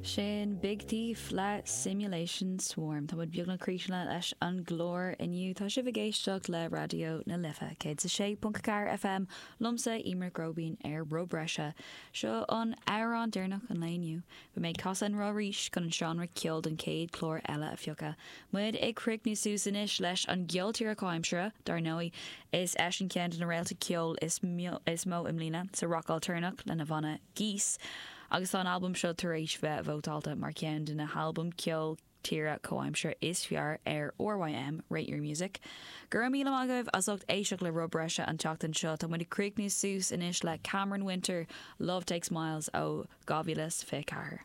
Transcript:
Sin Big Thief le Simulation Swarm. Tá muid beagnach críochnaithe leis an gclár inniu. Tá sibh ag éisteacht le Raidió na Life, 106.4 FM, liomsa, Eimear Nic Róibín, ar Rud Breise. Seo an amhrán deireanach an lae inniu. Beidh mé ag casadh an roth arís chun an seánra ceoil don chéad chlár eile a phiocadh. Muid ag críochnú suas anois leis an gceol tíre comhaimseartha, dar ndóigh. Is eisean ceann de na réalta ceoil is mó i mbliana sa rac ailtéarnach lena bhanna Geese agus tá an albam seo tar éis bheith vótáilte mar cheann de na halbaim ceol tíre comhaimseartha is fearr ar RYM, Rate Your Music. Go raibh míle maith agaibh as ucht éisteacht le Rud Breise an tseachtain seo. Tá muid ag críochnú suas anois le Cameron Winter, Love Takes Miles ó 2024.